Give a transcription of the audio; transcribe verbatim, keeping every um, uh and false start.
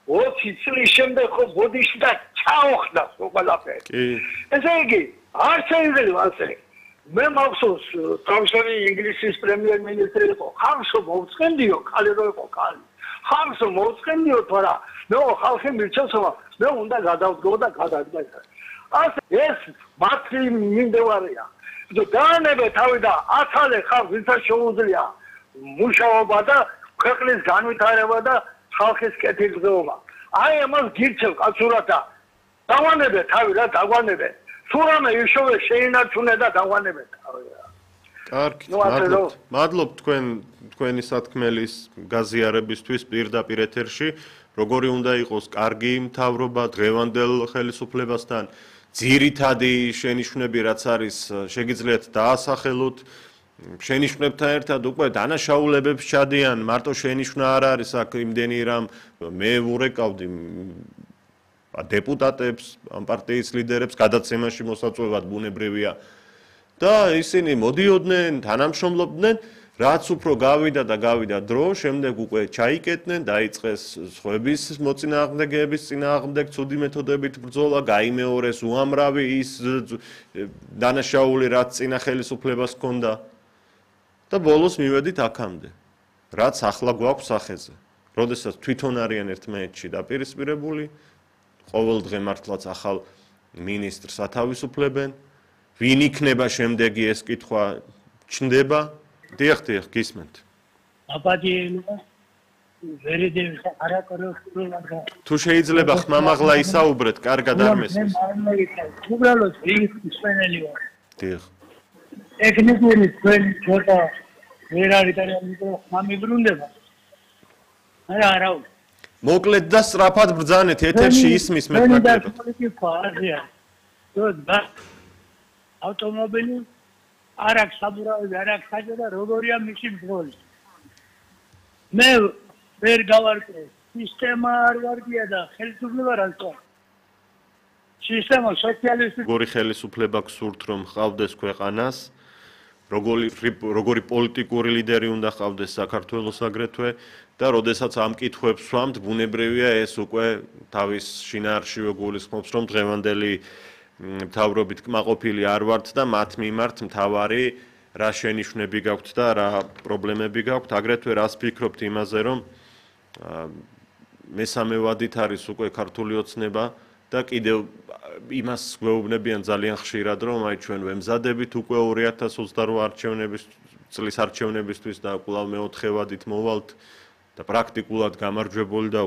ოცი წლის შემდეგ ხო ბოდიში და ჩაოხდა ყველაფერი. ესე იგი, არ შეიძლება ასე. მე მახსოვს, თავისუფალი ინგლისის პრემიერ-მინისტრი იყო, ხალხო მოუწყენდიო, ხალი რო იყო ხალი. ხალხო მოუწყენდიო, თორა მე ხალხი მირჩევსო, მე უნდა გადავდგო და გადაგდაიქა. ასე ეს მათი მინდევარია. დაანებე თავი და აცალე ხალხს ვინც შეუძლია მუშაობა და ქვეყნის განვითარება და ხალხის კეთილდღეობა. აი ამას გირჩევ კაცურად და დავანებე თავი რა დაგვანებე. თუ რამე იშოვე შეინარჩუნე და დავანებე თავი რა. კარგი, მადლობთ. მადლობთ თქვენ თქვენი სათქმელის გაზიარებისთვის პირდაპირ ეთერში. როგორი უნდა იყოს კარგი მთავრობა დღევანდელ ხელისუფლებასთან, ძირითადი შენიშვნები რაც არის შეგიძლიათ დაასახელოთ. შენიშვნებთან ერთად უკვე დანაშაულებებს ჩადიან, მარტო შენიშვნა არ არის აქ იმდენი რამ მე ვურეკავდი დეპუტატებს, ამ პარტიის ლიდერებს გადაცემაში მოსაწვევად ბუნებრივია და ისინი მოდიოდნენ, თანამშრომლობდნენ, რაც უფრო გავიდა და გავიდა დრო, შემდეგ უკვე ჩაიკეტნენ, დაიწყეს სხვების მოწინააღმდეგეების წინააღმდეგ ცუდი მეთოდებით ბრძოლა, გაიმეორეს უამრავი ის დანაშაული რაც წინა ხელისუფლებას ჰქონდა. და ბოლოს მივედით აქამდე, რაც ახლა გვაქვს სახეზე. როდესაც თვითონ არიან ერთმანეთში დაპირისპირებული, ყოველდღე მართლაც ახალ მინისტრს ათავისუფლებენ, ვინ იქნება შემდეგი ეს კითხვა ჩნდება. დიახ, დიახ, გისმენთ. აბადიელია ვერიდევის არაკორექტულად. თუ შეიძლება ხმამაღლა ისაუბრეთ, კარგად არ მესმის. უბრალოდ ვისმენელი ვარ. დიახ. ტექნიკური თქვენი ცოტა ვერ არის და ხმამიბრუნდება. არა, არა. მოკლედ და სწრაფად ბრძანეთ, ეთერში ისმის მეტნაკლებად. ავტომობილი არ აქვს საბურავი, არ აქვს საჯა და როგორია მისი მძღოლი. მე ვერ გავარკვე, სისტემა არ ვარგია და ხელისუფლება რა თქმა. სისტემა სოციალისტური როგორი ხელისუფლება გსურთ რომ ხავდეს ქვეყანას, როგორი როგორი პოლიტიკური ლიდერი უნდა ხავდეს საქართველოს აგრეთვე და როდესაც ამ კითხვებს ვამთ, ბუნებრივია ეს უკვე თავის შინაარსშივე გულისხმობს რომ დღევანდელი მთავრობით კმაყოფილი არ ვართ და მათ მიმართ მთავარი რა შენიშვნები გაქვთ და რა პრობლემები გაქვთ, აგრეთვე რას ფიქრობთ იმაზე რომ მესამე ვადით არის უკვე ქართული ოცნება და კიდევ იმას გვეუბნებიან ძალიან ხშირად რომ აი ჩვენ ვემზადებით უკვე ორი ათას ოცდარვა არჩევნების წლის არჩევნებისთვის და კვლავ მეოთხე ვადით მოვალთ და პრაქტიკულად გამარჯვებული და